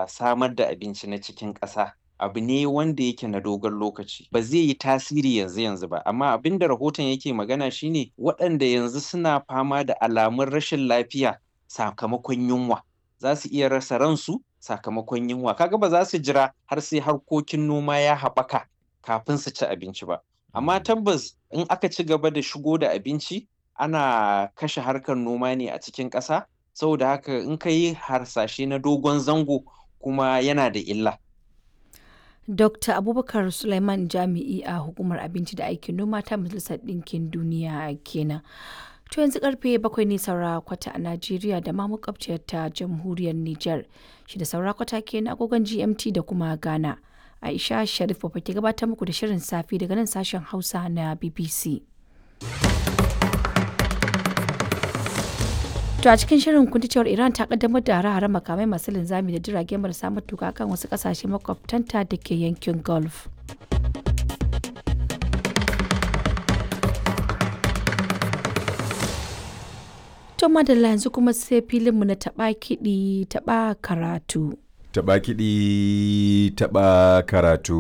Samar da abinci na cikin ƙasa abu ne wanda yake na dogon lokaci, ba zai yi tasiri yanzu-yanzu ba. Amma abin da rahoton yake magana shine waɗanda yanzu suna fama da alamun rashin lafiya sakamakon yunwa za su iya rasa ransu sakamakon yunwa. Kaga ba za su jira har sai harkokin noma ya haɓaka kafin su ci abinci ba. Amma tabbas in aka ci gaba da shigo da abinci, ana kashe harkar noma ne a cikin ƙasa. Saboda haka in ka yi harsashe na dogon zango, kuma yana da illa. Dr. Abubakar Sulaiman, jami'i a Hukumar Abinci da Aikin Noma ta Majalisar Ɗinkin Duniya kenan. To yanzu karfe 7 ne saura kwata a Najeriya da ma makwabciyar ta Jamhuriyar Nijar. 6 saura kwata kenan agogon GMT da kuma Ghana. Aisha Sharif Baba ke gabatar muku da shirin safe daga nan sashen Hausa na BBC. To a cikin shirin kun ji cewar Iran ta kaddamar da hare-haren makamai masu linzami da jirage marasa matuka kan wasu kasashe makwabtanta da ke yankin Gulf. To madalla, yanzu kuma sai filinmu na taɓa kiɗi taɓa karatu. Taɓa kiɗi, taɓa karatu.